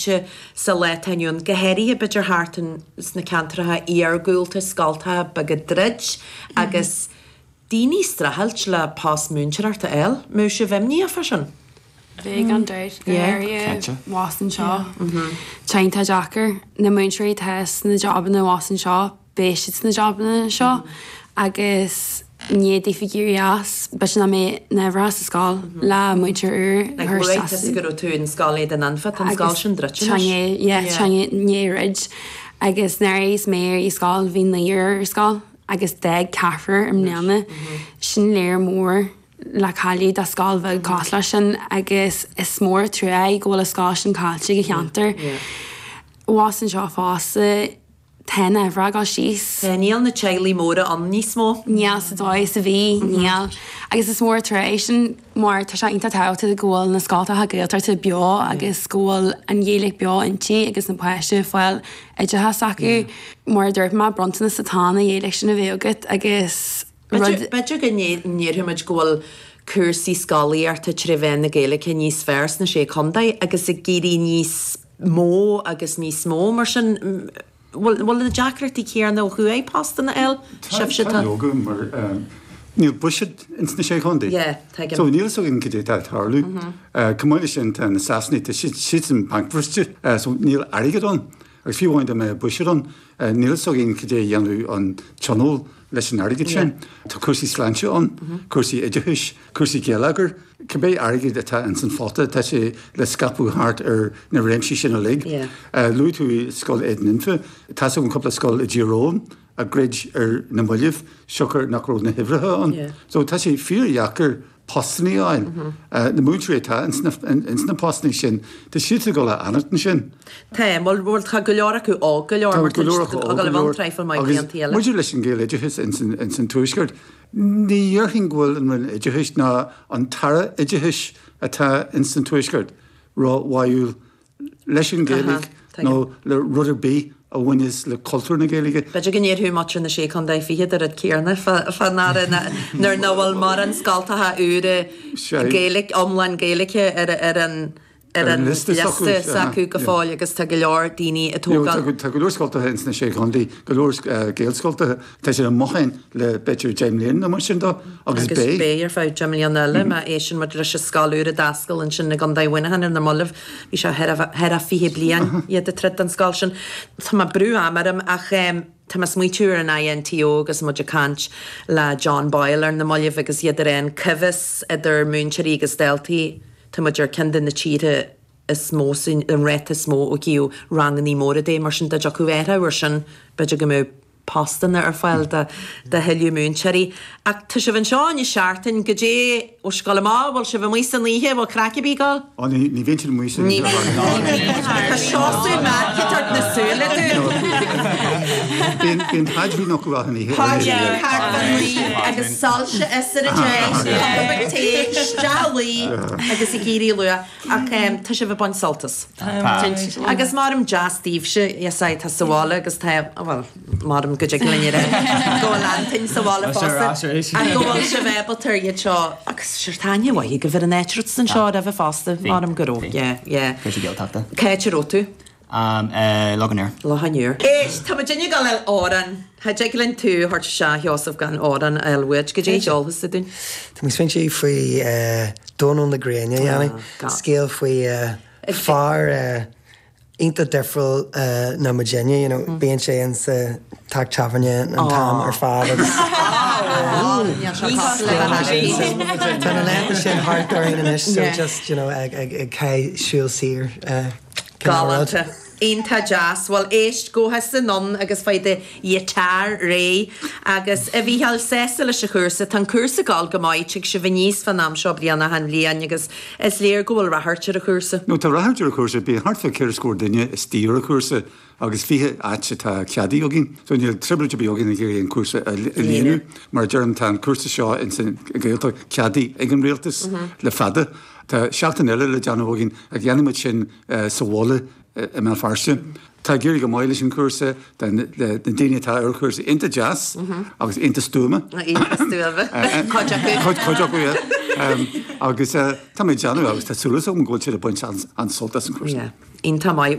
Sa lá atá inniu ann, go háirithe b'fhéidir thart sna ceantracha iargúlta, scoltacha beaga ag druid agus daoine ag streachailt le post múinteoireachta a fháil. Mbeadh sibh imníoch fá sin? Bheadh gan dabht, go háirithe abhus anseo. Tá iontach deacair. Na múinteoirí atá sna jabanna abhus anseo, beidh siad sna jabanna seo agus i ndiaidh daofa éirí as, b'fhéidir nach mbeidh na huimhreacha sa scoil le múinteoir úr a Like chur luaigh isteach tusa go raibh tú in scoil Éadain Anfa, tá an scoil agus sin druidte tá anois. yeah, Yeah. tá i ndiaidh druid agus nuair a bhíos mé ar scoil bhí naonúr ar scoil agus d'fhág ceathrar i mbliana. Sin léar mór le cailleadh do scoil bheag cosúil leis sin agus is mór an trua é go bhfuil an scoil sin caillte ag an cheantar. Abhus anseo fosta Tá na huimhreacha ag dul síos. Tá, níl na teaghlaigh móra ann níos mó. Níl sa dóigh is a bhí, níl. Agus is mór an trua é sin mar tá sé iontach tábhachtach go bhfuil na scoltacha Gaeltachta beo agus go bhfuil an Ghaeilge beo inti agus na páistí ag fáil oideachas acu. Mar a dúirt mé, bronntanas atá ann an Ghaeilge sin a bheith agat agus rud. B'fhéidir go ndéarfaidh muid go bhfuil cúrsaí scolaíochta tré mheán na Gaeilge níos fearr sna Sé Chontae agus ag éirí níos mó agus níos mó. Mar sin, bhfuil na deacrachtaí céanna ó thuaidh postanna a fháil? Sibhse Tá, leoga, mar níl buiséad ins na Sé Chontae. Yeah, tuigim. So níl fhios againn cad é atá ag tarlú. Chomh maith leis sin tá na Sasanaigh, tá siad siadsan bancbhriste, so níl airgead ann. Agus fiú amháin dá mbeadh buiséad ann, níl fhios againn cad é a dhéanfadh an tionól leis an airgead sin. Tá cúrsaí sláinte ann, cúrsaí oideachais, cúrsaí geilleagair. Cibé airgead atá ins an phota, tá sé le scaipeadh thart ar na réimsí sin uilig. Luaigh tú Scoil Éadain Anfa. Tá's agam cúpla scoil i dTír Eoghain a dhruid ar na mallaibh siocair nach raibh na huimhreacha ann. So tá sé fíordheacair postannaí a fháil. Na múinteoirí atá ins na postannaí sin, tá siad ag dul a fhanacht ansin. Tá, bhuel tá go leor acu óg go leor mar tá siad ag dul i bhfionn traidhfil maith blianta eile. Agus maidir leis an Ghaeloideachas ins an Tuaisceart, ní dhéarfainn go bhfuil an Roinn Oideachais ná an tAire Oideachais atá ins an Tuaisceart ró-bháúil leis an Ghaeilge nó le rud ar bith a bhaineas le cultúr na Gaeilge. B'fhéidir go ndéarfadh muintir na Sé Chontae Fichead an rud céanna fá ndeara nuair nach bhfuil mórán scoltacha úra Gaeilge, iomlán Gaeilge ar an ar an liosta s'acu go fóill agus tá go leor daoine ag tógáil. Tá go leor scoltacha ins na Sé Chontae, go leor Gaelscoltacha, tá siad amuigh ann le b'fhéidir 10 mbliana nó mar sin de agus beidh. Agus beidh ar feadh 10 mbliana eile má éisteann muid leis an scoil úr a d'oscail ansin i gContae Mhuineacháin ar na mallaibh. Bhí sé thar a 20 bliain iad ag troid don scoil sin. Tá mé ag brú ama orm ach tá mé ag smaoitiú ar an INTO agus muid ag caint le John Boyle ar na mallaibh agus iad ag rá an coimheas idir múinteoirí agus daltaí. Tá muid ar ceann de na tíortha is mó san, an ráta is mó ó thaobh rangannaí móra de, mar sin dá dtiocfadh athrú air sin, b'fhéidir go mbeadh postanna ar fáil do thuilleadh múinteoirí. Ach tá sibh anseo inniu seachtain, goidé, bhfuil sibh ag dul amach, bhfuil sibh amuigh san oíche, bhfuil craic ar bith ag dul? Ó, ní, ní bhíonn siad amuigh san oíche. Tá Seosamh Mac ag tabhairt na súile dúinn. Bíonn, bíonn paidrín acu achan oíche. Paidrín thart fán luí agus soilse is ar a deich, cupa beag tae, isteach a luí agus ag éirí luath. Ach tá sibh ag baint sult as. Tá. Agus maram deas daoibhse, yes aye, tá sa bhaile agus tá, bhuel, maram go dtig linn a rá go bhfuil Antoin sa bhaile fosta ach go bhfuil sibh ábalta ar iad seo agus sure tá aithne mhaith agaibh ar an áit raibh tusa anseo roimhe fosta, maram go raibh, yeah, yeah. Cúrsaí Gaeltachta. Cá háit a raibh tú? Loch an Iúir. Loch an Iúir. Éist, tá muid ag dul a fháil amhrán. Cha dtig linn tú a thabhairt isteach, a Sheosaimh, gan amhrán a fháil uait. Goidé a cheolfas tú dúinn? Tá mé ag smaointiú faoi Dónal na Gréine a dhéanamh. Scéal faoi fear iontach difriúil ná muidinne, you know, bíonn sé in sa teach tábhairne an t-am ar fad agus Tá na laethanta sin thart orainn anois so just, you know, ag ag ag siúl saor. Galánta. Iontach deas. Bhuel, éist, gabh thusa anonn agus faigh do ghiotár réidh. Agus, a Mhícheáil, sásta leis an chúrsa? Tá an cúrsa ag dul go maith, tig sibh aníos fán am seo bliana achan bhliain agus is léir go bhfuil ráchairt ar an chúrsa. No, tá ráchairt ar an chúrsa. Bíonn thart fá cheithre scór duine istigh ar an chúrsa agus 20 áit atá ceadaithe againn. So níl trioblóid ar bith againn ag iarraidh an cúrsa a líonadh. Mar a deirim, tá an cúrsa seo ins an Ghaeltacht ceadaithe ag an rialtas le fada. Tá seachtain eile le déanamh againn ach dhéanfaidh muid sin sa bhaile i mBéal Feirste. Tá ag éirí go maith leis an chúrsa, tá na daoine atá ar an chúrsa iontach deas agus iontach stuama. Iontach stuama. Cuid acu. Cuid acu, yeah. Agus tá mé ag déanamh agus tá súil agam go bhfuil siad ag baint an-sult as an chúrsa. Iontach maith.